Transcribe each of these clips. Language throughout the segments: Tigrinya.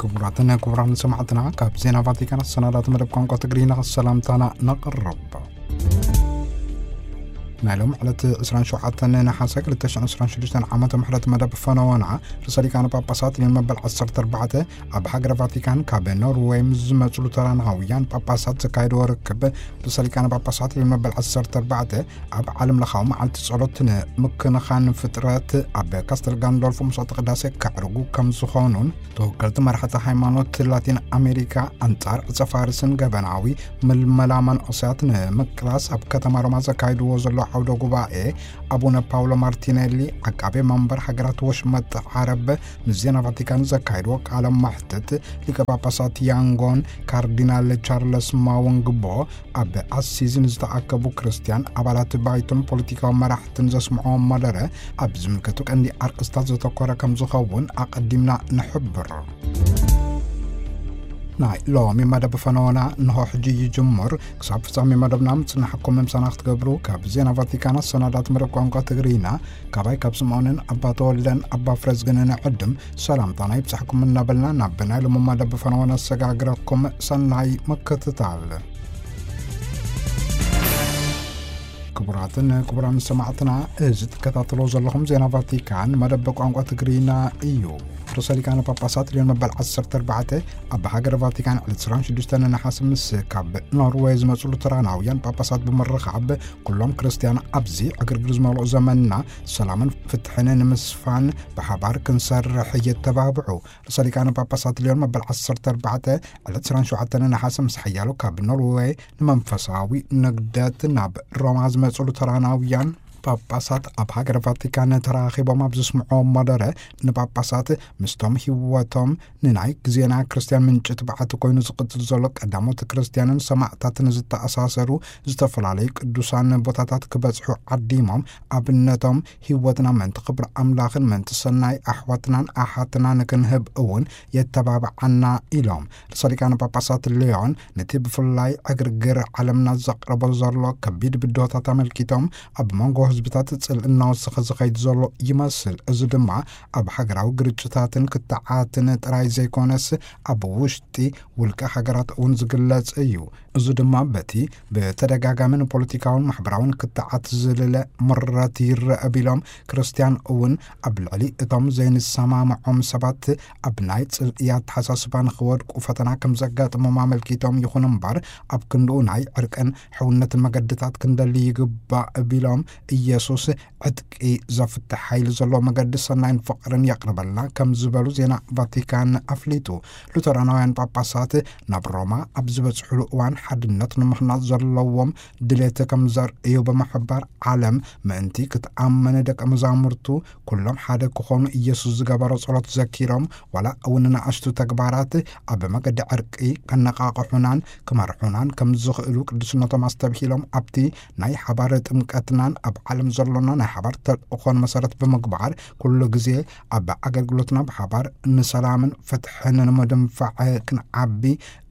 ክቡራትን ክቡራን ሰማዕትና፣ ካብ ዜና ቫቲካን ኣሰናዳት መደብ ቋንቋ ትግርኛ ሰላምታና ነቕርብ። ናይ ሎም ዕለት ዕስራን ሸውዓተን ነሓሰ ክልተ ሽሕን ዕስራን ሽዱሽተን ዓመተ ምሕረት መደብ ፈነወና፣ ርእሰ ሊቃነ ጳጳሳት ሊዮን መበል ዓሰርተ ኣርባዕተ ኣብ ሃገረ ቫቲካን ካብ ኖርዌይ ምስ ዝመጹ ሉተራናውያን ጳጳሳት ዘካየድዎ ርክብ፣ ርእሰ ሊቃነ ጳጳሳት ሊዮን መበል ዓሰርተ ኣርባዕተ ኣብ ዓለም ለኻዊ መዓልቲ ጸሎት ንምክንኻን ፍጥረት ኣብ ካስተል ጋንዶልፎ መስዋዕተ ቅዳሴ ከዕርጉ ከም ዝኾኑን፣ ተወከልቲ መራሕቲ ሃይማኖት ላቲን ኣሜሪካ ኣንጻር ዕጸ ፋርስን ገበናዊ ምልመላ መንእሰያት ንምቅላስ ኣብ ከተማ ሮማ ዘካይድዎ ዘሎ ዓውደ ጉባኤ፣ ኣቡነ ፓውሎ ማርቲኔሊ፣ ዓቃቤ መንበር ሃገራት ወሽመጥ ዓረብ፣ ምስ ዜና ቫቲካን ዘካይድዎ ቃለ መሕትት፣ ሊቀ ጳጳሳት ያንጎን ካርዲናል ቻርለስ ማወንግቦ ኣብ ኣሲዚ ንዝተኣከቡ ክርስትያን ኣባላት ባይቶን ፖለቲካዊ መራሕትን ዘስምዕዎ መደረ ኣብ ዝምልከቱ ቀንዲ ኣርእስታት ዘተኮረ ከም ዝኸውን ኣቐዲምና ንሕብር። ናይ ሎሚ መደብ ፈነወና እንሆ ሕጂ ይጅምር። ክሳብ ፍጻሜ መደብና ምጽናሕኩም ምሳና ክትገብሩ ካብ ዜና ቫቲካን ኣሰናዳት መደብ ቋንቋ ትግርኛ ካባይ ካብ ስምዖንን ኣባ ተወልደን ኣባ ፍረዝግንን ዕድም ሰላምታና ይብጻሕኩም እናበልና ናብ ናይ ሎሚ መደብ ፈነወና ኣሰጋግረኩም። ሰናይ ምክትታል። ክቡራትን ክቡራን ሰማዕትና፣ እዚ ትከታተሎ ዘለኹም ዜና ቫቲካን መደብ ቋንቋ ትግርኛ እዩ። ርእሰ ሊቃነ ጳጳሳት ሊዮን መበል ዓሰርተ ኣርባዕተ ኣብ ሃገረ ቫቲካን ዕለት ዕስራን ሽዱሽተን ነሓሰ ምስ ካብ ኖርዌይ ዝመጹ ሉተራናውያን ጳጳሳት ብምርኻብ፣ ኩሎም ክርስትያን ኣብዚ ዕግርግር ዝመልኦ ዘመንና ሰላምን ፍትሕን ንምስፋን ብሓባር ክንሰርሕ የተባብዑ። ርእሰ ሊቃነ ጳጳሳት ሊዮን መበል ዓሰርተ ኣርባዕተ ዕለት ዕስራን ሸውዓተን ነሓሰ ምስ ሓያሎ ካብ ኖርዌይ ንመንፈሳዊ ንግደት ናብ ሮማ ዝመጹ ሉተራናውያን ጳጳሳት ኣብ ሃገረ ቫቲካን ተራኺቦም ኣብ ዘስምዕዎ መደረ፣ ንጳጳሳት ምስቶም ህይወቶም ንናይ ግዜና ክርስትያን ምንጪ ትብዓት ኮይኑ ዝቕጽል ዘሎ ቀዳሞት ክርስትያንን ሰማዕታትን ዝተኣሳሰሩ ዝተፈላለዩ ቅዱሳን ቦታታት ክበጽሑ ዓዲሞም፣ ኣብነቶም ህይወትና ምእንቲ ክብሪ ኣምላኽን ምእንቲ ሰናይ ኣሕዋትናን ኣሓትናን ክንህብ እውን የተባብዓና ኢሎም። ርእሰ ሊቃነ ጳጳሳት ሊዮን ነቲ ብፍላይ ዕግርግር ዓለምና ዘቕርቦ ዘሎ ከቢድ ብድሆታት ኣመልኪቶም፣ ኣብ መንጎ ህዝብታት ጽልኢ እናወሰኸ ዝኸይድ ዘሎ ይመስል። እዚ ድማ ኣብ ሃገራዊ ግርጭታትን ክትዓትን ጥራይ ዘይኮነስ፣ ኣብ ውሽጢ ውልቀ ሃገራት እውን ዝግለጽ እዩ። እዚ ድማ በቲ ብተደጋጋሚ ንፖለቲካውን ማሕበራውን ክትዓት ዝልለ ምረት ይረአ ቢሎም፣ ክርስትያን እውን ኣብ ልዕሊ እቶም ዘይንሰማምዖም ሰባት ኣብ ናይ ጽልኢ ኣተሓሳስባ ንኽወድቁ ፈተና ከም ዘጋጥሞም ኣመልኪቶም፣ ይኹን እምበር ኣብ ክንድኡ ናይ ዕርቅን ሕውነትን መገድታት ክንደሊ ይግባእ ቢሎም፣ ኢየሱስ ዕጥቂ ዘፍትሕ ሓይሊ ዘለዎ መገዲ ሰናይን ፍቕርን የቕርበልና ከም ዝበሉ ዜና ቫቲካን ኣፍሊጡ። ሉተራናውያን ጳጳሳት ናብ ሮማ ኣብ ዝበጽሕሉ እዋን ሓድነት ንምህናጽ ዘለዎም ድሌት ከም ዘርእዩ ብምሕባር፣ ዓለም ምእንቲ ክትኣምን ደቀ መዛሙርቱ ኩሎም ሓደ ክኾኑ ኢየሱስ ዝገበሮ ጸሎት ዘኪሮም፣ ዋላ እውን ንኣሽቱ ተግባራት ኣብ መገዲ ዕርቂ ከነቓቕሑናን ክመርሑናን ከም ዝኽእሉ ቅዱስነቶም ኣስተብሂሎም፣ ኣብቲ ናይ ሓባር ጥምቀትናን ኣብ ዓለም ዘሎና ናይ ሓባር ተልእኾን መሰረት ብምግባር፣ ኩሉ ግዜ ኣብ ኣገልግሎትና ብሓባር ንሰላምን ፍትሕን ንምድንፋዕ ክንዓቢ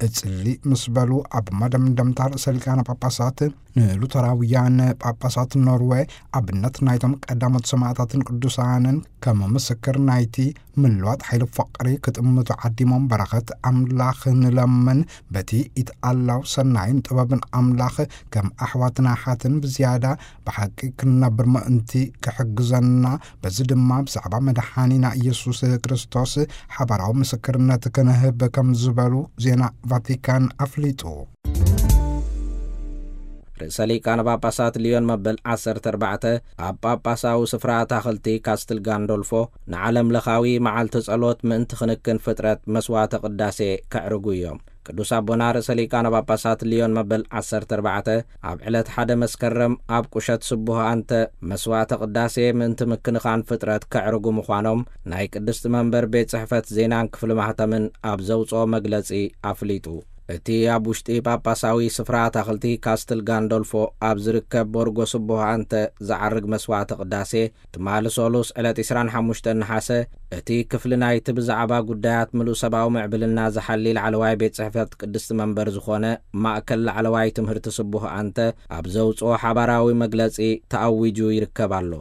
እጽሊ ምስ በሉ፣ ኣብ መደምደምታ ርእሰ ሊቃነ ጳጳሳት ንሉተራውያን ጳጳሳት ኖርዌ ኣብነት ናይቶም ቀዳሞት ሰማዕታትን ቅዱሳንን ከም ምስክር ናይቲ ምልዋጥ ሓይሊ ፍቕሪ ክጥምቱ ዓዲሞም፣ በረኸት ኣምላኽ ንለምን፣ በቲ ይትኣላው ሰናይን ጥበብን ኣምላኽ ከም ኣሕዋትን ኣሓትን ብዝያዳ ብሓቂ ክንነብር ምእንቲ ክሕግዘና፣ በዚ ድማ ብዛዕባ መድሓኒና ኢየሱስ ክርስቶስ ሓባራዊ ምስክርነት ክንህብ ከም ዝበሉ ዜና ቫቲካን ኣፍሊጡ። ርእሰ ሊቃነ ጳጳሳት ሊዮን መበል ዓሰርተ ኣርባዕተ ኣብ ጳጳሳዊ ስፍራ ኣታኽልቲ ካስትል ጋንዶልፎ ንዓለም ለኻዊ መዓልቲ ጸሎት ምእንቲ ክንክን ፍጥረት መስዋዕተ ቅዳሴ ከዕርጉ እዮም። ቅዱስ ኣቦና ርእሰ ሊቃነ ጳጳሳት ሊዮን መበል ዓሰርተ ኣርባዕተ ኣብ ዕለት ሓደ መስከረም ኣብ ቁሸት ስቡህ ኣንተ መስዋዕተ ቅዳሴ ምእንቲ ምክንኻን ፍጥረት ከዕርጉ ምዃኖም ናይ ቅድስቲ መንበር ቤት ጽሕፈት ዜናን ክፍሊ ማህተምን ኣብ ዘውጽኦ መግለጺ ኣፍሊጡ። እቲ ኣብ ውሽጢ ጳጳሳዊ ስፍራ ኣታኽልቲ ካስትል ጋንዶልፎ ኣብ ዝርከብ ቦርጎ ስቡህ ኣንተ ዝዓርግ መስዋዕተ ቅዳሴ፣ ትማሊ ሰሉስ ዕለት ዕስራን ሓሙሽተን ነሓሰ፣ እቲ ክፍሊ ናይቲ ብዛዕባ ጉዳያት ምሉእ ሰብኣዊ ምዕብልና ዝሓሊ ላዕለዋይ ቤት ጽሕፈት ቅድስቲ መንበር ዝኾነ ማእከል ላዕለዋይ ትምህርቲ ስቡህ ኣንተ ኣብ ዘውጽኦ ሓባራዊ መግለጺ ተኣዊጁ ይርከብ ኣሎ።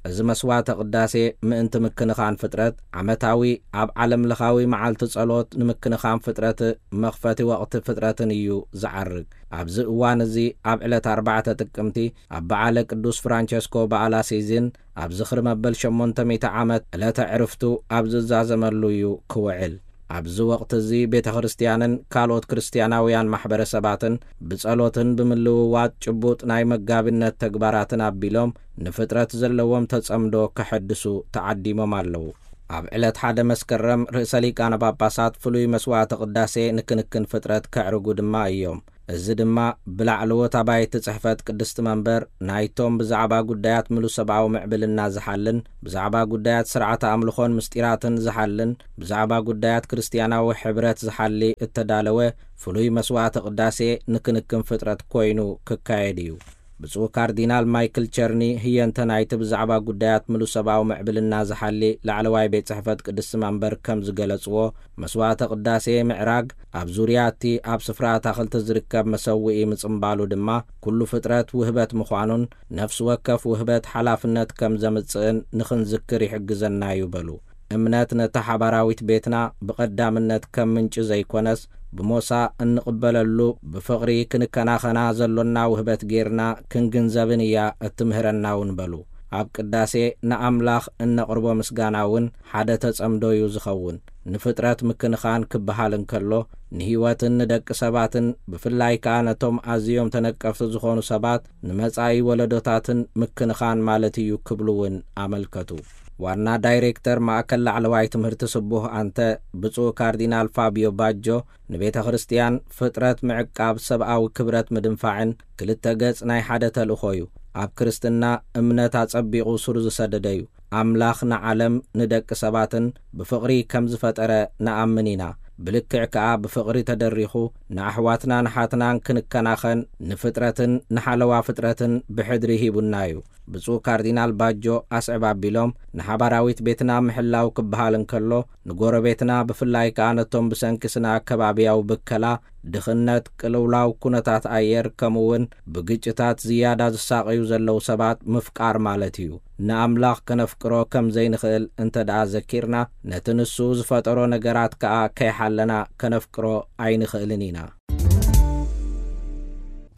እዚ መስዋዕተ ቅዳሴ ምእንቲ ምክንኻን ፍጥረት ዓመታዊ ኣብ ዓለም ለኻዊ መዓልቲ ጸሎት ንምክንኻን ፍጥረት መኽፈቲ ወቕቲ ፍጥረትን እዩ ዝዓርግ። ኣብዚ እዋን እዚ ኣብ ዕለት ኣርባዕተ ጥቅምቲ ኣብ በዓለ ቅዱስ ፍራንቸስኮ በዓል ኣሲዚን ኣብ ዝኽሪ መበል ሸሞንተ ሚእቲ ዓመት ዕለተ ዕርፍቱ ኣብ ዝዛዘመሉ እዩ ክውዕል። ኣብዚ ወቕቲ እዚ ቤተ ክርስቲያንን ካልኦት ክርስቲያናውያን ማሕበረሰባትን ብጸሎትን ብምልውዋጥ ጭቡጥ ናይ መጋቢነት ተግባራትን ኣቢሎም ንፍጥረት ዘለዎም ተጸምዶ ከሐድሱ ተዓዲሞም ኣለዉ። ኣብ ዕለት ሓደ መስከረም ርእሰ ሊቃነ ጳጳሳት ፍሉይ መስዋዕተ ቅዳሴ ንክንክን ፍጥረት ከዕርጉ ድማ እዮም። እዚ ድማ ብላዕለዎት ኣባይቲ ጽሕፈት ቅድስቲ መንበር ናይቶም ብዛዕባ ጉዳያት ምሉእ ሰብኣዊ ምዕብልና ዝሓልን ብዛዕባ ጉዳያት ስርዓተ ኣምልኾን ምስጢራትን ዝሓልን ብዛዕባ ጉዳያት ክርስትያናዊ ሕብረት ዝሓሊ እተዳለወ ፍሉይ መስዋዕተ ቅዳሴ ንክንክን ፍጥረት ኮይኑ ክካየድ እዩ። ብፁዕ ካርዲናል ማይክል ቸርኒ ህየንተ ናይቲ ብዛዕባ ጉዳያት ምሉእ ሰብኣዊ ምዕብልና ዝሓሊ ላዕለዋይ ቤት ጽሕፈት ቅድስቲ መንበር ከም ዝገለጽዎ፣ መስዋዕተ ቅዳሴ ምዕራግ ኣብ ዙርያ እቲ ኣብ ስፍራ ኣታኽልቲ ዝርከብ መሰውኢ ምጽምባሉ ድማ ኩሉ ፍጥረት ውህበት ምዃኑን ነፍሲ ወከፍ ውህበት ሓላፍነት ከም ዘምጽእን ንኽንዝክር ይሕግዘና እዩ በሉ። እምነት ነታ ሓባራዊት ቤትና ብቐዳምነት ከም ምንጪ ዘይኮነስ ብሞሳ እንቕበለሉ ብፍቕሪ ክንከናኸና ዘሎና ውህበት ጌርና ክንግንዘብን እያ እትምህረና እውን በሉ። ኣብ ቅዳሴ ንኣምላኽ እነቕርቦ ምስጋና እውን ሓደ ተጸምዶ እዩ ዝኸውን። ንፍጥረት ምክንኻን ክበሃል እንከሎ ንህይወትን ንደቂ ሰባትን ብፍላይ ከኣ ነቶም ኣዝዮም ተነቀፍቲ ዝኾኑ ሰባት ንመጻኢ ወለዶታትን ምክንኻን ማለት እዩ ክብሉ እውን ኣመልከቱ። ዋና ዳይሬክተር ማእከል ላዕለዋይ ትምህርቲ ስቡህ ኣንተ ብፁዕ ካርዲናል ፋቢዮ ባጆ ንቤተ ክርስቲያን ፍጥረት ምዕቃብ ሰብኣዊ ክብረት ምድንፋዕን ክልተ ገጽ ናይ ሓደ ተልእኾ እዩ። ኣብ ክርስትና እምነት ኣጸቢቑ ሱር ዝሰደደ እዩ። ኣምላኽ ንዓለም ንደቂ ሰባትን ብፍቕሪ ከም ዝፈጠረ ንኣምን ኢና። ብልክዕ ከኣ ብፍቕሪ ተደሪኹ ንኣሕዋትና ንሓትናን ክንከናኸን ንፍጥረትን ንሓለዋ ፍጥረትን ብሕድሪ ሂቡና እዩ። ብፁዕ ካርዲናል ባጆ ኣስዕብ ኣቢሎም ንሓባራዊት ቤትና ምሕላው ክበሃል እንከሎ ንጎረቤትና ብፍላይ ከኣ ነቶም ብሰንኪ ስነ ኣከባብያዊ ብከላ ድኽነት፣ ቅልውላው ኩነታት ኣየር ከምኡ እውን ብግጭታት ዝያዳ ዝሳቐዩ ዘለዉ ሰባት ምፍቃር ማለት እዩ። ንኣምላኽ ከነፍቅሮ ከም ዘይንኽእል እንተ ደኣ ዘኪርና ነቲ ንሱ ዝፈጠሮ ነገራት ከኣ ከይሓለና ከነፍቅሮ ኣይንኽእልን ኢና።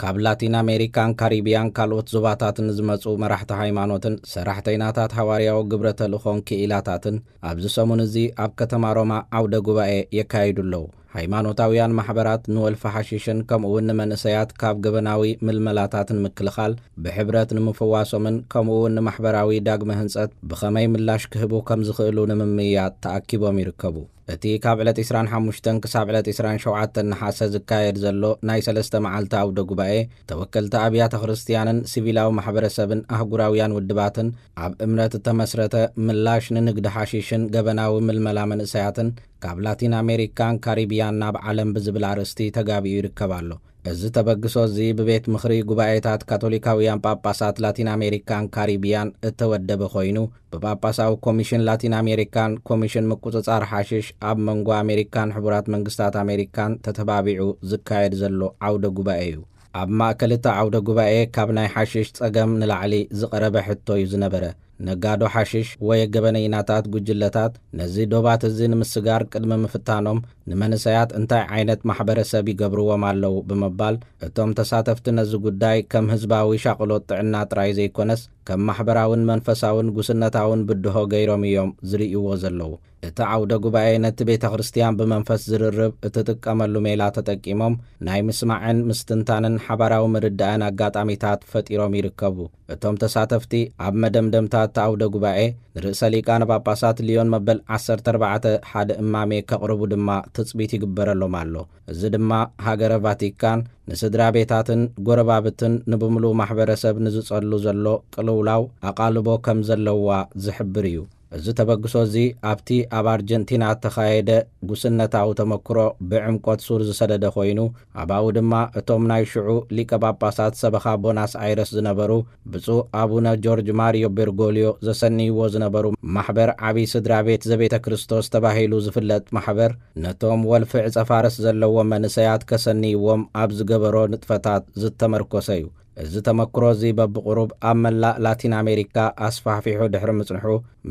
ካብ ላቲን ኣሜሪካን ካሪቢያን ካልኦት ዞባታትን ዝመጹ መራሕቲ ሃይማኖትን ሰራሕተይናታት ሃዋርያዊ ግብረ ተልእኾን ክኢላታትን ኣብዚ ሰሙን እዚ ኣብ ከተማ ሮማ ዓውደ ጉባኤ የካይዱ ኣለዉ። ሃይማኖታውያን ማሕበራት ንወልፊ ሓሽሽን ከምኡ እውን ንመንእሰያት ካብ ገበናዊ ምልመላታትን ምክልኻል ብሕብረት ንምፍዋሶምን ከምኡ እውን ንማሕበራዊ ዳግመ ህንጸት ብኸመይ ምላሽ ክህቡ ከም ዝኽእሉ ንምምይያጥ ተኣኪቦም ይርከቡ። እቲ ካብ ዕለት ዕስራን ሓሙሽተን ክሳብ ዕለት ዕስራን ሸውዓተን ነሓሰ ዝካየድ ዘሎ ናይ ሰለስተ መዓልቲ ዓውደ ጉባኤ ተወከልቲ ኣብያተ ክርስትያንን ሲቪላዊ ማሕበረሰብን ኣህጉራውያን ውድባትን ኣብ እምነት እተመስረተ ምላሽ ንንግዲ ሓሽሽን ገበናዊ ምልመላ መንእሰያትን ካብ ላቲን ኣሜሪካን ካሪቢያን ናብ ዓለም ብዝብል ኣርእስቲ ተጋቢኡ ይርከብ ኣሎ። እዚ ተበግሶ እዚ ብቤት ምኽሪ ጉባኤታት ካቶሊካውያን ጳጳሳት ላቲን ኣሜሪካን ካሪቢያን እተወደበ ኮይኑ ብጳጳሳዊ ኮሚሽን ላቲን ኣሜሪካን ኮሚሽን ምቁጽጻር ሓሽሽ ኣብ መንጎ ኣሜሪካን ሕቡራት መንግስታት ኣሜሪካን ተተባቢዑ ዝካየድ ዘሎ ዓውደ ጉባኤ እዩ። ኣብ ማእከል እቲ ዓውደ ጉባኤ ካብ ናይ ሓሽሽ ጸገም ንላዕሊ ዝቐረበ ሕቶ እዩ ዝነበረ። ነጋዶ ሓሽሽ ወይ ገበነይናታት ጉጅለታት ነዚ ዶባት እዚ ንምስጋር ቅድሚ ምፍታኖም ንመንሰያት እንታይ ዓይነት ማሕበረሰብ ይገብርዎም ኣለዉ ብምባል እቶም ተሳተፍቲ ነዚ ጉዳይ ከም ህዝባዊ ሻቕሎት ጥዕና ጥራይ ዘይኮነስ ከም ማሕበራውን መንፈሳውን ጉስነታውን ብድሆ ገይሮም እዮም ዝርእይዎ ዘለዉ። እቲ ዓውደ ጉባኤ ነቲ ቤተ ክርስቲያን ብመንፈስ ዝርርብ እትጥቀመሉ ሜላ ተጠቂሞም ናይ ምስማዕን ምስትንታንን ሓባራዊ ምርዳእን ኣጋጣሚታት ፈጢሮም ይርከቡ። እቶም ተሳተፍቲ ኣብ መደምደምታ እቲ ዓውደ ጉባኤ ንርእሰ ሊቃነ ጳጳሳት ሊዮን መበል ዓሰርተ ኣርባዕተ ሓደ እማሜ ከቕርቡ ድማ ትጽቢት ይግበረሎም ኣሎ። እዚ ድማ ሃገረ ቫቲካን ንስድራ ቤታትን ጎረባብትን ንብምሉእ ማሕበረሰብ ንዝጸሉ ዘሎ ቅልውላው ኣቓልቦ ከም ዘለዋ ዝሕብር እዩ። እዚ ተበግሶ እዚ ኣብቲ ኣብ ኣርጀንቲና እተኻየደ ጉስነታዊ ተመክሮ ብዕምቆት ሱር ዝሰደደ ኮይኑ፣ ኣባኡ ድማ እቶም ናይ ሽዑ ሊቀ ጳጳሳት ሰበኻ ቦናስ ኣይረስ ዝነበሩ ብፁዕ ኣቡነ ጆርጅ ማሪዮ ቤርጎልዮ ዘሰንይዎ ዝነበሩ ማሕበር ዓቢ ስድራ ቤት ዘቤተ ክርስቶስ ተባሂሉ ዝፍለጥ ማሕበር፣ ነቶም ወልፊ ዕጸ ፋርስ ዘለዎም መንእሰያት ከሰንይዎም ኣብ ዝገበሮ ንጥፈታት ዝተመርኮሰ እዩ። እዚ ተመክሮ እዚ በብቕሩብ ኣብ መላእ ላቲን ኣሜሪካ ኣስፋሕፊሑ ድሕሪ ምጽንሑ፣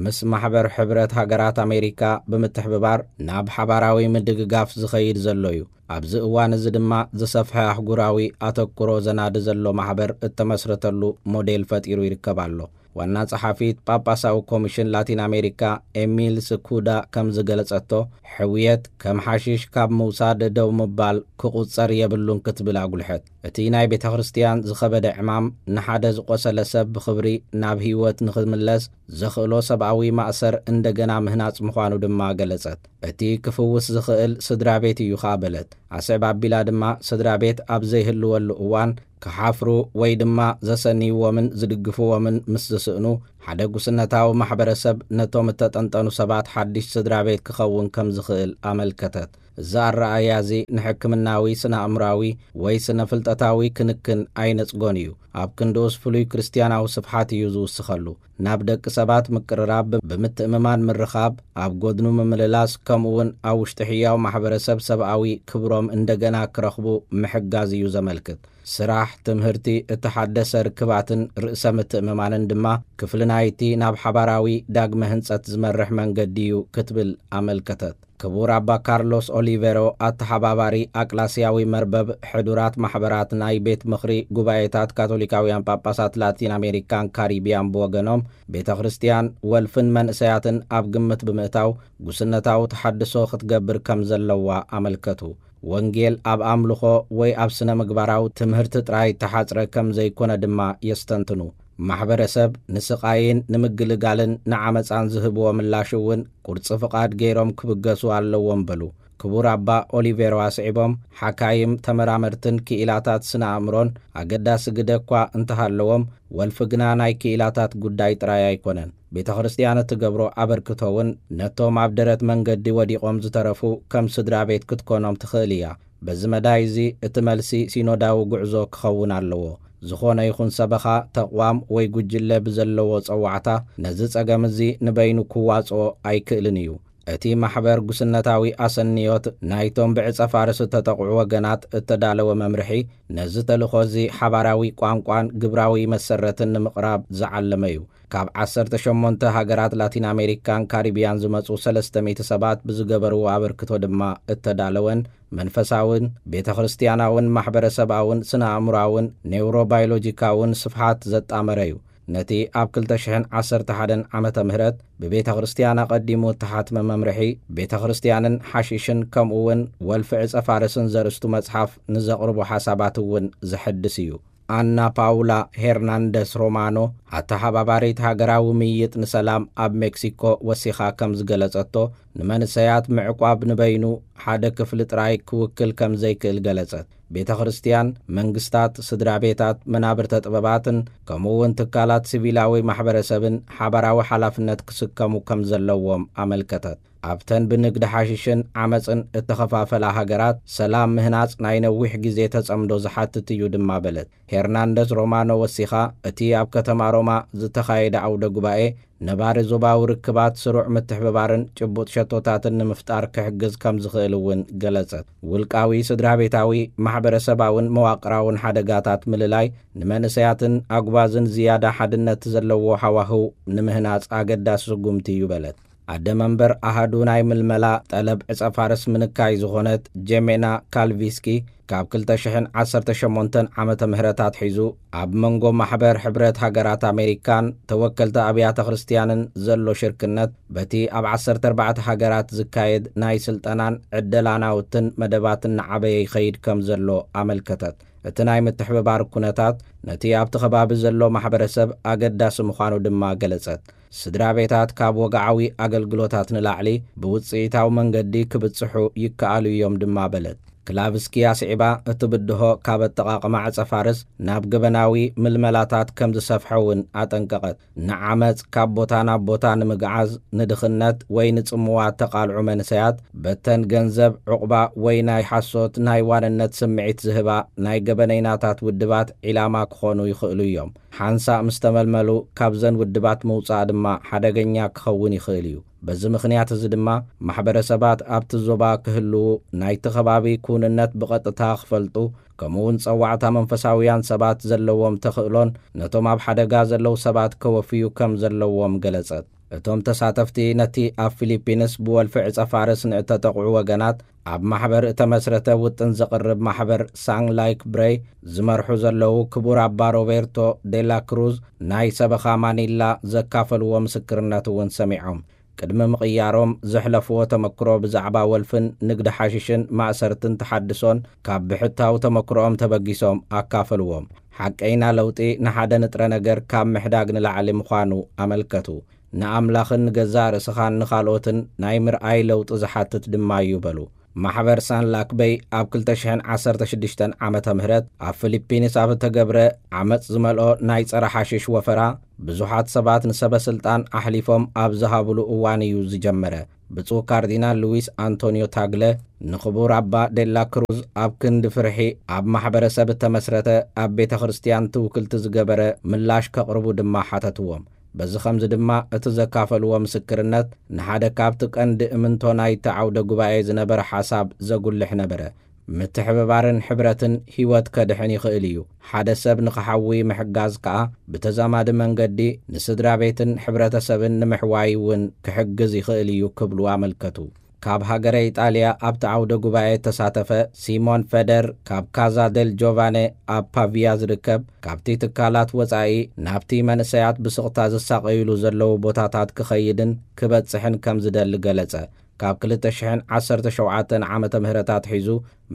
ምስ ማሕበር ሕብረት ሃገራት ኣሜሪካ ብምትሕብባር ናብ ሓባራዊ ምድግጋፍ ዝኸይድ ዘሎ እዩ። ኣብዚ እዋን እዚ ድማ ዝሰፍሐ ኣህጉራዊ ኣተኩሮ ዘናዲ ዘሎ ማሕበር እተመስረተሉ ሞዴል ፈጢሩ ይርከብ ኣሎ። ዋና ጸሓፊት ጳጳሳዊ ኮሚሽን ላቲን ኣሜሪካ ኤሚል ስኩዳ ከም ዝገለጸቶ፣ ሕውየት ከም ሓሽሽ ካብ ምውሳድ ደው ምባል ክቑጸር የብሉን ክትብል ኣጉልሐት። እቲ ናይ ቤተ ክርስቲያን ዝኸበደ ዕማም ንሓደ ዝቖሰለ ሰብ ብኽብሪ ናብ ህይወት ንኽምለስ ዘኽእሎ ሰብኣዊ ማእሰር እንደገና ምህናጽ ምዃኑ ድማ ገለጸት። እቲ ክፍውስ ዝኽእል ስድራ ቤት እዩ ኸኣ በለት። ኣስዕብ ኣቢላ ድማ ስድራ ቤት ኣብ ዘይህልወሉ እዋን ክሓፍሩ ወይ ድማ ዘሰንይዎምን ዝድግፍዎምን ምስ ዝስእኑ፣ ሓደ ጉስነታዊ ማሕበረሰብ ነቶም እተጠንጠኑ ሰባት ሓድሽ ስድራ ቤት ክኸውን ከም ዝኽእል ኣመልከተት። እዚ ኣረኣእያ እዚ ንሕክምናዊ፣ ስነ-ኣእምራዊ ወይ ስነ-ፍልጠታዊ ክንክን ኣይነጽጎን እዩ። ኣብ ክንድኡስ ፍሉይ ክርስትያናዊ ስፍሓት እዩ ዝውስኸሉ። ናብ ደቂ ሰባት ምቅርራብ፣ ብምትእምማን ምርኻብ፣ ኣብ ጎድኑ ምምልላስ፣ ከምኡውን ኣብ ውሽጢ ሕያው ማሕበረሰብ ሰብኣዊ ክብሮም እንደገና ክረኽቡ ምሕጋዝ እዩ ዘመልክት። ስራሕ፣ ትምህርቲ፣ እተሓደሰ ርክባትን ርእሰ ምትእምማንን ድማ ክፍሊ ናይቲ ናብ ሓባራዊ ዳግመ ህንጸት ዝመርሕ መንገዲ እዩ ክትብል ኣመልከተት። ክቡር ኣባ ካርሎስ ኦሊቬሮ፣ ኣተሓባባሪ ኣቅላስያዊ መርበብ ሕዱራት ማሕበራት ናይ ቤት ምኽሪ ጉባኤታት ካቶሊካውያን ጳጳሳት ላቲን ኣሜሪካን ካሪቢያን ብወገኖም፣ ቤተ ክርስቲያን ወልፍን መንእሰያትን ኣብ ግምት ብምእታው ጉስነታዊ ተሓድሶ ክትገብር ከም ዘለዋ ኣመልከቱ። ወንጌል ኣብ ኣምልኾ ወይ ኣብ ስነ ምግባራዊ ትምህርቲ ጥራይ ተሓጽረ ከም ዘይኮነ ድማ የስተንትኑ። ማሕበረሰብ ንስቓይን ንምግልጋልን ንዓመጻን ዝህብዎ ምላሽ እውን ቁርጺ ፍቓድ ገይሮም ክብገሱ ኣለዎም በሉ። ክቡር ኣባ ኦሊቬሮ ኣስዒቦም፣ ሓካይም፣ ተመራመርትን ክኢላታት ስነ ኣእምሮን ኣገዳሲ ግደ እኳ እንተሃለዎም፣ ወልፊ ግና ናይ ክኢላታት ጉዳይ ጥራይ ኣይኮነን። ቤተ ክርስቲያን እትገብሮ ኣበርክቶ እውን ነቶም ኣብ ደረት መንገዲ ወዲቖም ዝተረፉ ከም ስድራ ቤት ክትኮኖም ትኽእል እያ። በዚ መዳይ እዚ እቲ መልሲ ሲኖዳዊ ጉዕዞ ክኸውን ኣለዎ። ዝኾነ ይኹን ሰበኻ፣ ተቕዋም ወይ ጉጅለ ብዘለዎ ጸዋዕታ ነዚ ጸገም እዚ ንበይኑ ክዋጽኦ ኣይክእልን እዩ። እቲ ማሕበር ጉስነታዊ ኣሰንዮት ናይቶም ብዕጸ ፋርስ እተጠቕዑ ወገናት እተዳለወ መምርሒ፣ ነዚ ተልእኾ እዚ ሓባራዊ ቋንቋን ግብራዊ መሰረትን ንምቕራብ ዝዓለመ እዩ። ካብ ዓሰርተ ሸሞንተ ሃገራት ላቲን ኣሜሪካን ካሪቢያን ዝመጹ ሰለስተ ሚእቲ ሰባት ብዝገበርዎ ኣበርክቶ ድማ እተዳለወን መንፈሳውን ቤተ ክርስቲያናውን ማሕበረሰባውን ስነ ኣእምሮኣውን ኔውሮባዮሎጂካውን ስፍሓት ዘጣመረ እዩ። ነቲ ኣብ ክልተ ሽሕን ዓሰርተ ሓደን ዓመተ ምህረት ብቤተ ክርስቲያን ኣቐዲሙ እተሓትመ መምርሒ፣ ቤተ ክርስቲያንን ሓሺሽን ከምኡ እውን ወልፊ ዕጸ ፋርስን ዘርእስቱ መጽሓፍ ንዘቕርቦ ሓሳባት እውን ዘሐድስ እዩ። ኣና ፓውላ ሄርናንደስ ሮማኖ፣ ኣተሓባባሪት ሃገራዊ ምይይጥ ንሰላም ኣብ ሜክሲኮ፣ ወሲኻ ከም ዝገለጸቶ፣ ንመንእሰያት ምዕቋብ ንበይኑ ሓደ ክፍሊ ጥራይ ክውክል ከም ዘይክእል ገለጸት። ቤተ ክርስቲያን፣ መንግስታት፣ ስድራ ቤታት፣ መናብርተ ጥበባትን ከምኡ እውን ትካላት ሲቪላዊ ማሕበረሰብን ሓባራዊ ሓላፍነት ክስከሙ ከም ዘለዎም ኣመልከተት። ኣብተን ብንግዲ ሓሽሽን ዓመጽን እተኸፋፈላ ሃገራት፣ ሰላም ምህናጽ ናይ ነዊሕ ግዜ ተጸምዶ ዝሓትት እዩ ድማ በለት። ሄርናንደዝ ሮማኖ ወሲኻ፣ እቲ ኣብ ከተማ ሮማ ዝተኻየደ ዓውደ ጉባኤ፣ ነባሪ ዞባዊ ርክባት፣ ስሩዕ ምትሕብባርን ጭቡጥ ሸቶታትን ንምፍጣር ክሕግዝ ከም ዝኽእል እውን ገለጸት። ውልቃዊ፣ ስድራ ቤታዊ፣ ማሕበረሰባውን መዋቕራውን ሓደጋታት ምልላይ፣ ንመንእሰያትን ኣጉባዝን ዝያዳ ሓድነት ዘለዎ ሃዋህው ንምህናጽ ኣገዳሲ ስጉምቲ እዩ በለት። ኣደ መንበር ኣሃዱ ናይ ምልመላ ጠለብ ዕጸ ፋርስ ምንካይ ዝኾነት ጀሜና ካልቪስኪ፣ ካብ ክልተ ሽሕን ዓሰርተ ሸሞንተን ዓመተ ምህረት ኣትሒዙ ኣብ መንጎ ማሕበር ሕብረት ሃገራት ኣሜሪካን ተወከልቲ ኣብያተ ክርስቲያንን ዘሎ ሽርክነት፣ በቲ ኣብ ዓሰርተ ኣርባዕተ ሃገራት ዝካየድ ናይ ስልጠናን ዕደላ ናውትን መደባትን እናዓበየ ይኸይድ ከም ዘሎ ኣመልከተት። እቲ ናይ ምትሕብባር ኩነታት ነቲ ኣብቲ ከባቢ ዘሎ ማሕበረሰብ ኣገዳሲ ምዃኑ ድማ ገለጸት። ስድራ ቤታት ካብ ወግዓዊ ኣገልግሎታት ንላዕሊ ብውጽኢታዊ መንገዲ ክብጽሑ ይከኣሉ እዮም ድማ በለት። ክላቭስኪ ኣስዒባ፣ እቲ ብድሆ ካብ ኣጠቓቕማ ዕጸ ፋርስ ናብ ገበናዊ ምልመላታት ከም ዝሰፍሐ እውን ኣጠንቀቐት። ንዓመጽ ካብ ቦታ ናብ ቦታ ንምግዓዝ፣ ንድኽነት ወይ ንጽምዋ እተቓልዑ መንእሰያት፣ በተን ገንዘብ፣ ዑቕባ ወይ ናይ ሓሶት ናይ ዋንነት ስምዒት ዝህባ ናይ ገበነይናታት ውድባት ዒላማ ክኾኑ ይኽእሉ እዮም። ሓንሳእ ምስ ተመልመሉ፣ ካብዘን ውድባት ምውጻእ ድማ ሓደገኛ ክኸውን ይኽእል እዩ። በዚ ምኽንያት እዚ ድማ ማሕበረሰባት ኣብቲ ዞባ ክህልዉ፣ ናይቲ ከባቢ ክውንነት ብቐጥታ ክፈልጡ፣ ከምኡ እውን ጸዋዕታ መንፈሳውያን ሰባት ዘለዎም ተኽእሎን ነቶም ኣብ ሓደጋ ዘለዉ ሰባት ከወፍዩ ከም ዘለዎም ገለጸት። እቶም ተሳተፍቲ ነቲ ኣብ ፊሊፒንስ ብወልፊ ዕጸ ፋርስ ንእተጠቕዑ ወገናት ኣብ ማሕበር እተመስረተ ውጥን ዘቕርብ ማሕበር ሳንግ ላይክ ብሬይ ዝመርሑ ዘለዉ ክቡር ኣባ ሮቤርቶ ዴላ ክሩዝ ናይ ሰበኻ ማኒላ ዘካፈልዎ ምስክርነት እውን ሰሚዖም። ቅድሚ ምቕያሮም ዘሕለፍዎ ተመክሮ ብዛዕባ ወልፍን ንግዲ ሓሽሽን ማእሰርትን ተሓድሶን ካብ ብሕታዊ ተመክሮኦም ተበጊሶም ኣካፈልዎም። ሓቀይና ለውጢ ንሓደ ንጥረ ነገር ካብ ምሕዳግ ንላዕሊ ምዃኑ ኣመልከቱ። ንኣምላኽን ንገዛእ ርእስኻን ንኻልኦትን ናይ ምርኣይ ለውጢ ዝሓትት ድማ እዩ በሉ። ማሕበር ሳን ላክበይ ኣብ ክልተ ሽሕን ዓሰርተ ሽዱሽተን ዓመተ ምህረት ኣብ ፊሊፒንስ ኣብ እተገብረ ዓመጽ ዝመልኦ ናይ ጸረ ሓሽሽ ወፈራ ብዙሓት ሰባት ንሰበ ስልጣን ኣሕሊፎም ኣብ ዝሃብሉ እዋን እዩ ዝጀመረ። ብፁዕ ካርዲናል ሉዊስ ኣንቶኒዮ ታግለ ንኽቡር ኣባ ዴላ ክሩዝ ኣብ ክንዲ ፍርሒ ኣብ ማሕበረሰብ እተመስረተ ኣብ ቤተ ክርስቲያን ትውክልቲ ዝገበረ ምላሽ ከቕርቡ ድማ ሓተትዎም። በዚ ኸምዚ ድማ እቲ ዘካፈልዎ ምስክርነት ንሓደ ካብቲ ቀንዲ እምንቶ ናይቲ ዓውደ ጉባኤ ዝነበረ ሓሳብ ዘጉልሕ ነበረ። ምትሕብባርን ሕብረትን ህይወት ከድሕን ይኽእል እዩ። ሓደ ሰብ ንኽሓዊ ምሕጋዝ ከኣ ብተዛማዲ መንገዲ ንስድራ ቤትን ሕብረተሰብን ንምሕዋይ እውን ክሕግዝ ይኽእል እዩ ክብሉ ኣመልከቱ። ካብ ሃገረ ኢጣልያ ኣብቲ ዓውደ ጉባኤ እተሳተፈ ሲሞን ፈደር ካብ ካዛ ደል ጆቫነ ኣብ ፓቪያ ዝርከብ ካብቲ ትካላት ወጻኢ ናብቲ መንእሰያት ብስቕታ ዝሳቐዩሉ ዘለዉ ቦታታት ክኸይድን ክበጽሕን ከም ዝደሊ ገለጸ። ካብ ክልተ ሽሕን ዓሰርተ ሸውዓተን ዓመተ ምህረት ኣትሒዙ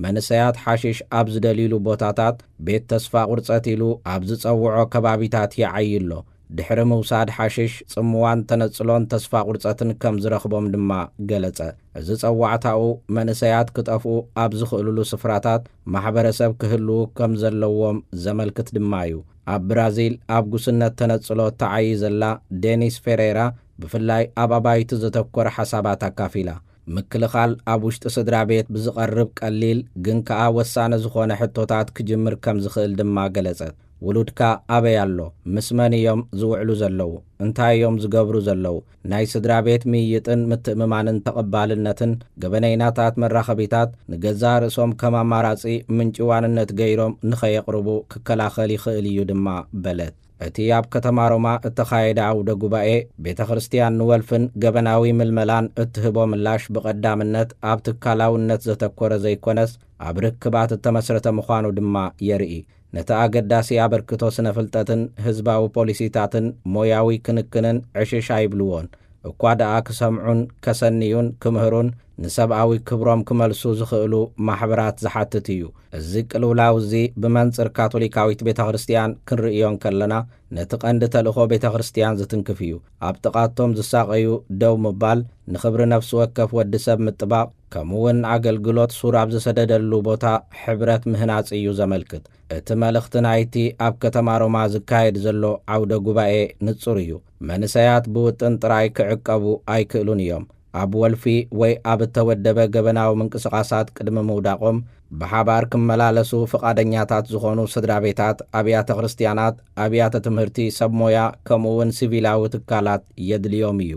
መንእሰያት ሓሽሽ ኣብ ዝደልዩሉ ቦታታት ቤት ተስፋ ቁርጸት ኢሉ ኣብ ዝጸውዖ ከባቢታት ይዓዪ ኣሎ። ድሕሪ ምውሳድ ሓሽሽ ጽምዋን ተነጽሎን ተስፋ ቁርጸትን ከም ዝረኽቦም ድማ ገለጸ። እዚ ጸዋዕታኡ መንእሰያት ክጠፍኡ ኣብ ዝኽእልሉ ስፍራታት ማሕበረሰብ ክህልዉ ከም ዘለዎም ዘመልክት ድማ እዩ። ኣብ ብራዚል ኣብ ጉስነት ተነጽሎ እተዓዪ ዘላ ዴኒስ ፌሬራ ብፍላይ ኣብ ኣባይቲ ዘተኮረ ሓሳባት ኣካፊላ። ምክልኻል ኣብ ውሽጢ ስድራ ቤት ብዝቐርብ ቀሊል ግን ከኣ ወሳኒ ዝኾነ ሕቶታት ክጅምር ከም ዝኽእል ድማ ገለጸት። ውሉድካ ኣበይ ኣሎ? ምስ መን እዮም ዝውዕሉ ዘለዉ? እንታይ እዮም ዝገብሩ ዘለዉ? ናይ ስድራ ቤት ምይይጥን ምትእምማንን ተቐባልነትን ገበነይናታት መራኸቢታት ንገዛእ ርእሶም ከም ኣማራጺ ምንጪ ዋንነት ገይሮም ንኸየቕርቡ ክከላኸል ይኽእል እዩ ድማ በለት። እቲ ኣብ ከተማ ሮማ እተኻየደ ዓውደ ጉባኤ ቤተ ክርስቲያን ንወልፍን ገበናዊ ምልመላን እትህቦ ምላሽ ብቐዳምነት ኣብ ትካላውነት ዘተኮረ ዘይኮነስ ኣብ ርክባት እተመስረተ ምዃኑ ድማ የርኢ። ነቲ ኣገዳሲ ኣበርክቶ ስነ ፍልጠትን ህዝባዊ ፖሊሲታትን ሞያዊ ክንክንን ዕሽሽ ኣይብልዎን። እኳ ደኣ ክሰምዑን ከሰንዩን ክምህሩን ንሰብኣዊ ክብሮም ክመልሱ ዝኽእሉ ማሕበራት ዝሓትት እዩ። እዚ ቅልውላው እዚ ብመንጽር ካቶሊካዊት ቤተ ክርስቲያን ክንርእዮ እንከለና ነቲ ቀንዲ ተልእኾ ቤተ ክርስቲያን ዝትንክፍ እዩ። ኣብ ጥቓቶም ዝሳቐዩ ደው ምባል፣ ንኽብሪ ነፍሲ ወከፍ ወዲ ሰብ ምጥባቕ፣ ከምኡ እውን ኣገልግሎት ሱር ኣብ ዝሰደደሉ ቦታ ሕብረት ምህናጽ እዩ ዘመልክት። እቲ መልእኽቲ ናይቲ ኣብ ከተማ ሮማ ዝካየድ ዘሎ ዓውደ ጉባኤ ንጹር እዩ። መንእሰያት ብውጥን ጥራይ ክዕቀቡ ኣይክእሉን እዮም። ኣብ ወልፊ ወይ ኣብ እተወደበ ገበናዊ ምንቅስቓሳት ቅድሚ ምውዳቖም ብሓባር ክመላለሱ ፍቓደኛታት ዝኾኑ ስድራ ቤታት፣ ኣብያተ ክርስቲያናት፣ ኣብያተ ትምህርቲ፣ ሰብ ሞያ ከምኡ እውን ሲቪላዊ ትካላት የድልዮም እዩ።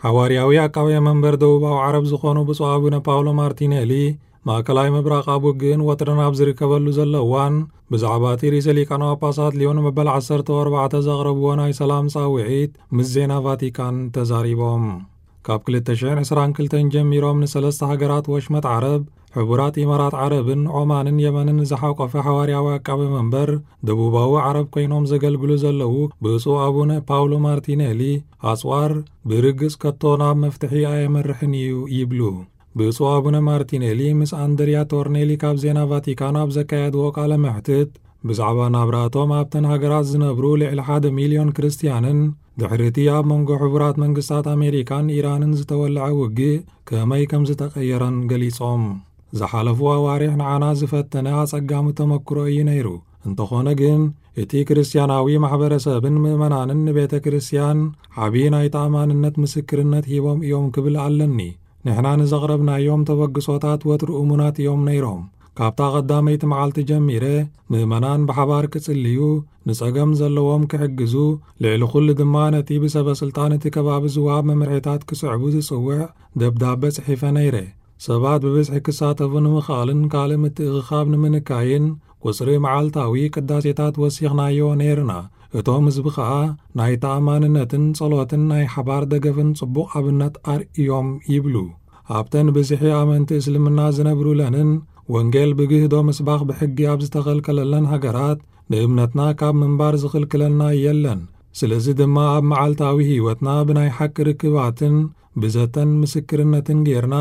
ሓዋርያዊ ኣቃቤ መንበር ደቡባዊ ዓረብ ዝኾኑ ብፁዕ ኣቡነ ፓውሎ ማርቲኔሊ ማእከላይ ምብራቕ ኣብ ውግእን ወጥርን ኣብ ዝርከበሉ ዘሎ እዋን ብዛዕባ እቲ ርእሰ ሊቃነ ጳጳሳት ሊዮን መበል ዓሰርተ ኣርባዕተ ዘቕረብዎ ናይ ሰላም ጻውዒት ምስ ዜና ቫቲካን ተዛሪቦም። ካብ ክልተ ሽሕን ዕስራን ክልተን ጀሚሮም ንሰለስተ ሃገራት ወሽመጥ ዓረብ፣ ሕቡራት ኢማራት ዓረብን ዖማንን የመንን ዝሓቆፈ ሓዋርያዊ ኣቃቤ መንበር ደቡባዊ ዓረብ ኮይኖም ዘገልግሉ ዘለዉ ብፁዕ ኣቡነ ፓውሎ ማርቲኔሊ ኣጽዋር ብርግጽ ከቶ ናብ መፍትሒ ኣየመርሕን እዩ ይብሉ። ብፁዕ ኣቡነ ማርቲኔሊ ምስ ኣንድሪያ ቶርኔሊ ካብ ዜና ቫቲካን ኣብ ዘካየድዎ ቃለ መሕትት ብዛዕባ ናብራቶም ኣብተን ሃገራት ዝነብሩ ልዕሊ ሓደ ሚልዮን ክርስትያንን ድሕሪ እቲ ኣብ መንጎ ሕቡራት መንግስታት ኣሜሪካን ኢራንን ዝተወልዐ ውግእ ከመይ ከም ዝተቐየረን ገሊጾም። ዝሓለፉ ኣዋርሕ ንዓና ዝፈተነ ኣጸጋሚ ተመክሮ እዩ ነይሩ። እንተኾነ ግን እቲ ክርስትያናዊ ማሕበረሰብን ምእመናንን ንቤተ ክርስትያን ዓቢ ናይ ተኣማንነት ምስክርነት ሂቦም እዮም ክብል ኣለኒ። ንሕና ንዘቕረብናዮም ተበግሶታት ወትሩ እሙናት እዮም ነይሮም። ካብታ ቀዳመይቲ መዓልቲ ጀሚረ፣ ምእመናን ብሓባር ክጽልዩ፣ ንጸገም ዘለዎም ክሕግዙ፣ ልዕሊ ኩሉ ድማ ነቲ ብሰበ ስልጣን እቲ ከባቢ ዝወሃብ መምርሒታት ክስዕቡ ዝጽውዕ ደብዳበ ጽሒፈ ነይረ። ሰባት ብብዝሒ ክሳተፉ ንምኽኣልን ካልእ ምትእኽኻብ ንምንካይን፣ ቁጽሪ መዓልታዊ ቅዳሴታት ወሲኽናዮ ነይርና። እቶም ህዝቢ ኸኣ ናይ ተኣማንነትን ጸሎትን ናይ ሓባር ደገፍን ጽቡቕ ኣብነት ኣርእዮም ይብሉ። ኣብተን ብዝሒ ኣመንቲ እስልምና ዝነብሩለንን ወንጌል ብግህዶ ምስባኽ ብሕጊ ኣብ ዝተኸልከለለን ሃገራት፣ ንእምነትና ካብ ምንባር ዝኽልክለና የለን። ስለዚ ድማ ኣብ መዓልታዊ ህይወትና ብናይ ሓቂ ርክባትን ብዘተን ምስክርነትን ጌርና፣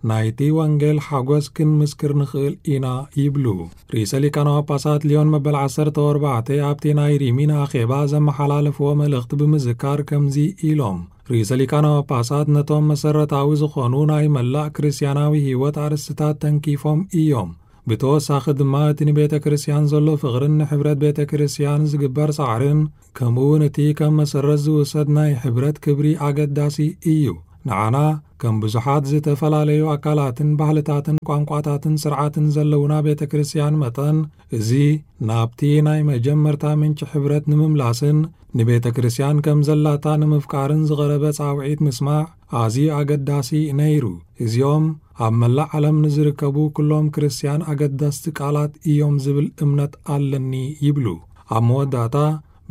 ናይቲ ወንጌል ሓጎስ ክንምስክር ንኽእል ኢና ይብሉ። ርእሰ ሊቃነ ጳጳሳት ሊዮን መበል ዓሰርተ ኣርባዕተ ኣብቲ ናይ ሪሚን ኣኼባ ዘመሓላለፍዎ መልእኽቲ ብምዝካር ከምዚ ኢሎም፣ ርእሰ ሊቃነ ጳጳሳት ነቶም መሰረታዊ ዝኾኑ ናይ መላእ ክርስትያናዊ ህይወት ኣርእስትታት ተንኪፎም እዮም። ብተወሳኺ ድማ እቲ ንቤተ ክርስትያን ዘሎ ፍቕርን ንሕብረት ቤተ ክርስትያን ዝግበር ጻዕርን፣ ከምኡ እውን እቲ ከም መሰረት ዝውሰድ ናይ ሕብረት ክብሪ ኣገዳሲ እዩ። ንዓና ከም ብዙሓት ዝተፈላለዩ ኣካላትን ባህልታትን ቋንቋታትን ስርዓትን ዘለውና ቤተ ክርስትያን መጠን፣ እዚ ናብቲ ናይ መጀመርታ ምንጪ ሕብረት ንምምላስን ንቤተ ክርስትያን ከም ዘላታ ንምፍቃርን ዝቐረበ ጻውዒት ምስማዕ ኣዝዩ ኣገዳሲ ነይሩ። እዚኦም ኣብ መላእ ዓለም ንዝርከቡ ኩሎም ክርስትያን ኣገደስቲ ቃላት እዮም ዝብል እምነት ኣለኒ ይብሉ። ኣብ መወዳእታ፣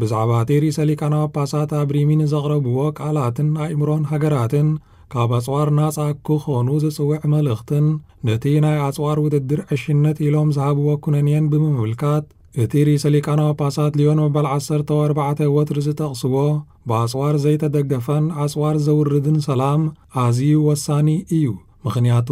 ብዛዕባ እቲ ርእሰ ሊቃነ ጳጳሳት ኣብ ሪሚ ንዘቕረብዎ ቃላትን ኣእምሮን ሃገራትን ካብ ኣጽዋር ናጻ ክኾኑ ዝጽውዕ መልእኽትን ነቲ ናይ ኣጽዋር ውድድር ዕሽነት ኢሎም ዝሃብዎ ኩነኔን ብምምልካት፣ እቲ ርእሰ ሊቃነ ጳጳሳት ሊዮን መበል ዓሰርተ ኣርባዕተ ወትሪ ዝጠቕስዎ፣ ብኣጽዋር ዘይተደገፈን ኣጽዋር ዘውርድን ሰላም ኣዝዩ ወሳኒ እዩ። ምኽንያቱ፣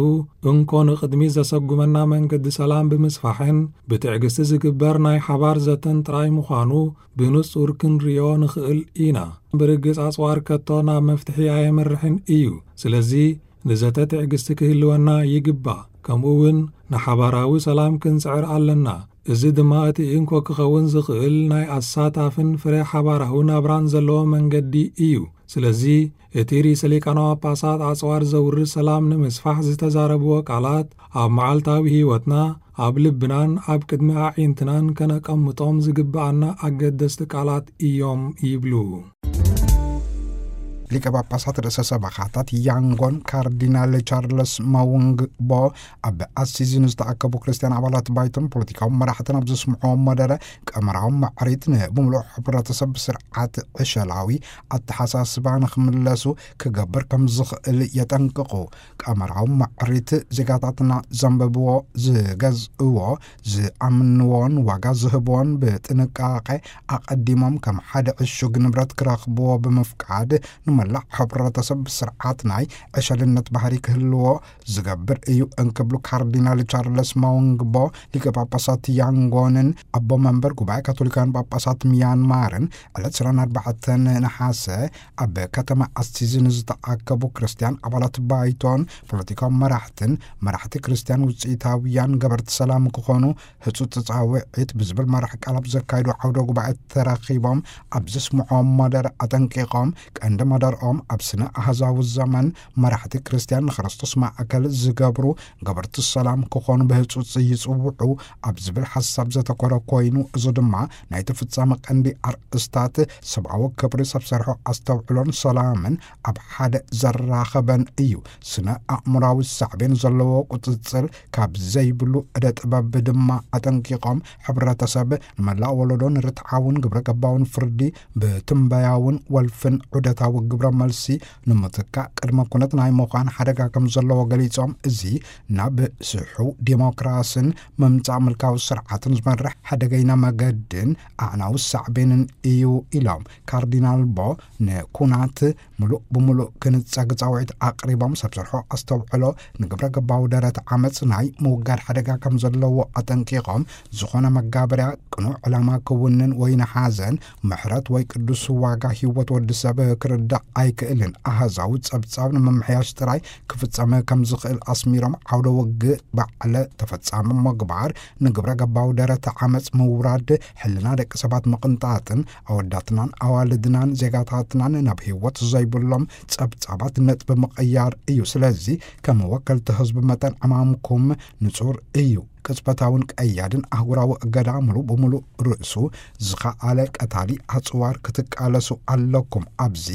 እንኮ ንቕድሚት ዘሰጉመና መንገዲ ሰላም ብምስፋሕን ብትዕግስቲ ዝግበር ናይ ሓባር ዘተን ጥራይ ምዃኑ ብንጹር ክንርእዮ ንኽእል ኢና። ብርግጽ ኣጽዋር ከቶ ናብ መፍትሒ ኣየምርሕን እዩ። ስለዚ፣ ንዘተ ትዕግስቲ ክህልወና ይግባእ። ከምኡ እውን ንሓባራዊ ሰላም ክንጽዕር ኣለና። እዚ ድማ እቲ እንኮ ክኸውን ዝኽእል ናይ ኣሳታፍን ፍረ ሓባራዊ ናብራን ዘለዎ መንገዲ እዩ። ስለዚ፣ እቲ ርእሰ ሊቃነ ጳጳሳት ኣጽዋር ዘውርድ ሰላም ንምስፋሕ ዝተዛረብዎ ቃላት፣ ኣብ መዓልታዊ ህይወትና፣ ኣብ ልብናን ኣብ ቅድሚ ኣዒንትናን ከነቀምጦም ዝግብኣና ኣገደስቲ ቃላት እዮም ይብሉ። ሊቀ ጳጳሳት ርእሰ ሰበኻታት ያንጎን ካርዲናል ቻርለስ ማውንግ ቦ ኣብ ኣሲዚ ንዝተኣከቡ ክርስትያን ኣባላት ባይቶን ፖለቲካዊ መራሕትን ኣብ ዘስምዕዎ መደረ፣ ቀመራዊ ማዕሪት ንብምሉእ ሕብረተሰብ ስርዓት ዕሸላዊ ኣተሓሳስባ ንኽምለሱ ክገብር ከም ዝኽእል የጠንቅቑ። ቀመራዊ ማዕሪት ዜጋታትና ዘንብብዎ፣ ዝገዝእዎ፣ ዝኣምንዎን ዋጋ ዝህብዎን ብጥንቃቄ ኣቐዲሞም ከም ሓደ ዕሹግ ንብረት ክረኽብዎ ብምፍቃድ፣ ንመላእ ሕብረተሰብ ስርዓት ናይ ዕሸልነት ባህሪ ክህልዎ ዝገብር እዩ እንክብሉ ካርዲናል ቻርለስ ማውንግቦ፣ ሊቀ ጳጳሳት ያንጎንን ኣቦ መንበር ጉባኤ ካቶሊካውያን ጳጳሳት ሚያንማርን ዕለት ዕስራን ኣርባዕተን ነሓሰ ኣብ ከተማ ኣሲዚ ንዝተኣከቡ ክርስትያን ኣባላት ባይቶን ፖለቲካዊ መራሕትን መራሕቲ ክርስትያን ውፅኢታውያን ገበርቲ ሰላም ክኾኑ ህጹጽ ጻውዒት ብዝብል መራሕ ቃል ኣብ ዘካየዱ ዓውደ ጉባኤ ተራኺቦም ኣብ ዘስምዖም መደረ ኣጠንቂቖም፣ ቀንዲ መደርኦም ኣብ ስነ ኣህዛዊ ዘመን መራሕቲ ክርስትያን ንክርስቶስ ማእከል ዝገብሩ ገበርቲ ሰላም ክኾኑ ብህጹጽ ይጽውዑ ኣብ ዝብል ሓሳብ ዘተኮረ ኮይኑ፣ እዚ ድማ ናይቲ ፍጻመ ቀንዲ ኣርእስታት ሰብኣዊ ክብሪ፣ ሰብ ሰርሖ ኣስተውዕሎን ሰላምን ኣብ ሓደ ዘራኸበን እዩ። ስነ ኣእምራዊ ሳዕቤን ዘለዎ ቁጽጽር ካብ ዘይብሉ ዕደ ጥበብ ድማ ኣጠንቂቖም፣ ሕብረተሰብ ንመላእ ወለዶ ንርትዓውን ግብረ ገባውን ፍርዲ ብትንበያውን ወልፍን ዑደታዊ ግብረ መልሲ ንምትካእ ቅድመ ኩነት ናይ ምዃን ሓደጋ ከም ዘለዎ ገሊጾም፣ እዚ ናብ ስሑ ዲሞክራስን ምምጻእ ምልካዊ ስርዓትን ዝመርሕ ሓደገኛ መገድን ኣዕናዊ ሳዕቤንን እዩ ኢሎም። ካርዲናል ቦ ንኩናት ምሉእ ብምሉእ ክንጸግ ጻውዒት ኣቕሪቦም፣ ሰብ ሰርሖ ኣስተውዕሎ ንግብረ ገባዊ ደረት ዓመጽ ናይ ምውጋድ ሓደጋ ከም ዘለዎ ኣጠንቂቖም፣ ዝኾነ መጋበርያ ቅኑዕ ዕላማ ክውንን ወይ ንሓዘን ምሕረት ወይ ቅዱስ ዋጋ ህይወት ወዲ ሰብ ክርዳእ ኣይክእልን። ኣሃዛዊ ጸብጻብ ንምምሕያሽ ጥራይ ክፍጸም ከም ዝኽእል ኣስሚሮም፣ ዓውደ ውግእ ባዕለ ተፈጻሚ ምግባር፣ ንግብረ ገባዊ ደረት ዓመጽ ምውራድ፣ ሕልና ደቂ ሰባት ምቕንጣጥን ኣወዳትናን ኣዋልድናን ዜጋታትናን ናብ ህይወት ዘይብሎም ጸብጻባት ነጥቢ ምቕያር እዩ። ስለዚ ከም ወከልቲ ህዝቢ መጠን ዕማምኩም ንጹር እዩ። ቅጽበታውን ቀያድን ኣህጉራዊ እገዳ ሙሉ ብሙሉ ርእሱ ዝኸኣለ ቀታሊ ኣጽዋር ክትቃለሱ ኣለኩም። ኣብዚ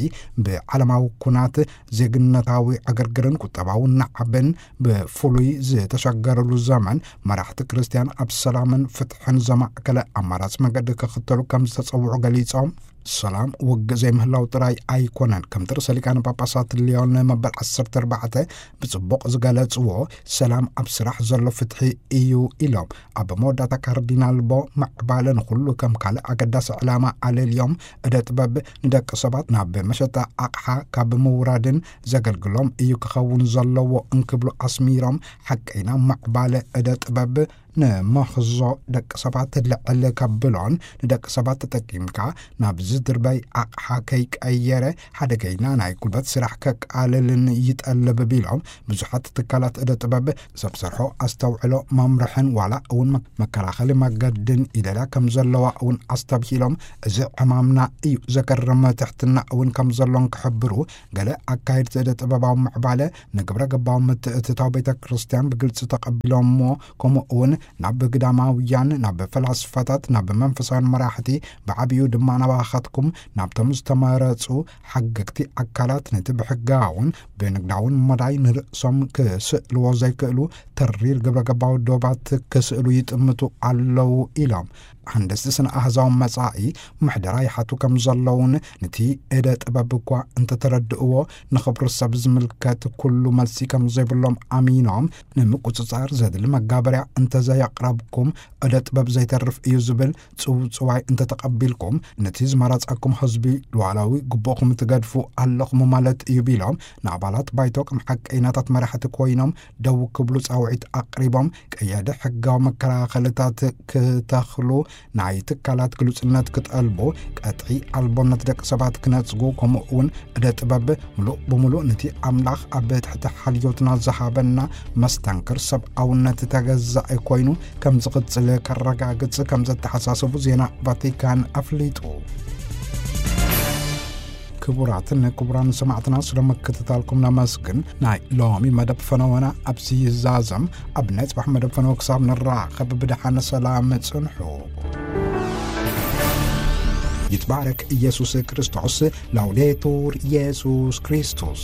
ብዓለማዊ ኩናት ዜግነታዊ ዕግርግርን ቁጠባዊ ናዕብን ብፍሉይ ዝተሸገረሉ ዘመን፣ መራሕቲ ክርስትያን ኣብ ሰላምን ፍትሕን ዘማእከለ ኣማራጺ መገዲ ክኽተሉ ከም ዝተጸውዑ ገሊጾም፣ ሰላም ውግእ ዘይምህላው ጥራይ ኣይኮነን። ከምቲ ርእሰ ሊቃነ ጳጳሳት ሊዮን መበል ዓሰርተ ኣርባዕተ ብጽቡቕ ዝገለጽዎ፣ ሰላም ኣብ ስራሕ ዘሎ ፍትሒ እዩ ኢሎም። ኣብ መወዳእታ ካርዲናል ቦ፣ ምዕባለ ንኹሉ ከም ካልእ ኣገዳሲ ዕላማ ኣለልዮም፣ እደ ጥበብ ንደቂ ሰባት ናብ መሸጣ ኣቕሓ ካብ ምውራድን ዘገልግሎም እዩ ክኸውን ዘለዎ እንክብሉ ኣስሚሮም፣ ሓቀይና ምዕባለ እደ ጥበብ ንመኽዞ ደቂ ሰባት ልዕል ከብሎን ንደቂ ሰባት ተጠቂምካ ናብ ዝድርበይ ኣቕሓ ከይቀየረ ሓደገይና ናይ ጉልበት ስራሕ ከቃልልን ይጠልብ ቢሎም፣ ብዙሓት ትካላት እደ ጥበብ ሰብ ሰርሖ ኣስተውዕሎ መምርሕን ዋላ እውን መ-፣ መከላኸሊ መገድን ይደልያ ከም ዘለዋ እውን ኣስተብሂሎም፣ እዚ ዕማምና እዩ ዘገርም ትሕትና እውን ከም ዘሎን ክሕብሩ፣ ገለ ኣካየድቲ እደ ጥበባዊ ምዕባለ ንግብረ ገባዊ ምትእትታው ቤተ ክርስቲያን ብግልጺ ተቐቢሎምዎ፣ ከምኡ እውን ናብ ግዳማውያን፣ ናብ ፈላስፋታት፣ ናብ መንፈሳውያን መራሕቲ፣ ብዓብዩ ድማ ናባኻትኩም፣ ናብቶም ዝተመረጹ ሓገግቲ ኣካላት፣ ነቲ ብሕጋውን ብንግዳውን መዳይ ንርእሶም ክስእልዎ ዘይክእሉ ተሪር ግብረ ገባዊ ዶባት ክስእሉ ይጥምቱ ኣለዉ ኢሎም። ሃንደስቲ ስነ ኣህዛዊ መጻኢ ምሕደራ ይሓቱ ከም ዘለውን፣ ነቲ እደ ጥበብ እኳ እንተተረድእዎ፣ ንኽብሪ ሰብ ዝምልከት ኩሉ መልሲ ከም ዘይብሎም ኣሚኖም፣ ንምቁጽጻር ዘድሊ መጋበርያ እንተዘየቕረብኩም፣ እደ ጥበብ ዘይተርፍ እዩ ዝብል ጽውጽዋይ እንተተቐቢልኩም፣ ነቲ ዝመረጸኩም ህዝቢ ሉዓላዊ ግቡእኹም ትገድፉ ኣለኹም ማለት እዩ ቢሎም፣ ንኣባላት ባይቶ ከም ሓቀይናታት መራሕቲ ኮይኖም ደው ክብሉ ጻውዒት ኣቕሪቦም፣ ቀያዲ ሕጋዊ መከላኸልታት ክተኽሉ፣ ናይ ትካላት ግሉጽነት ክጠልቡ፣ ቀጥዒ ኣልቦነት ደቂ ሰባት ክነጽጉ፣ ከምኡ እውን እደ ጥበብ ምሉእ ብምሉእ ነቲ ኣምላኽ ኣብ ትሕቲ ሓልዮትና ዝሃበና መስተንክር ሰብኣውነት ተገዛኢ ኮይኑ ከም ዝቕጽል ከረጋግጽ ከም ዘተሓሳሰቡ ዜና ቫቲካን ኣፍሊጡ። ክቡራትን ክቡራን ሰማዕትና፣ ስለ ምክትታልኩም ነመስግን። ናይ ሎሚ መደብ ፈነወና ኣብዚ ይዛዘም። ኣብ ናይ ጽባሕ መደብ ፈነወ ክሳብ ንራኸብ ብደሓን ሰላም ጽንሑ። ይትባረክ ኢየሱስ ክርስቶስ። ላውዴቱር ኢየሱስ ክርስቶስ።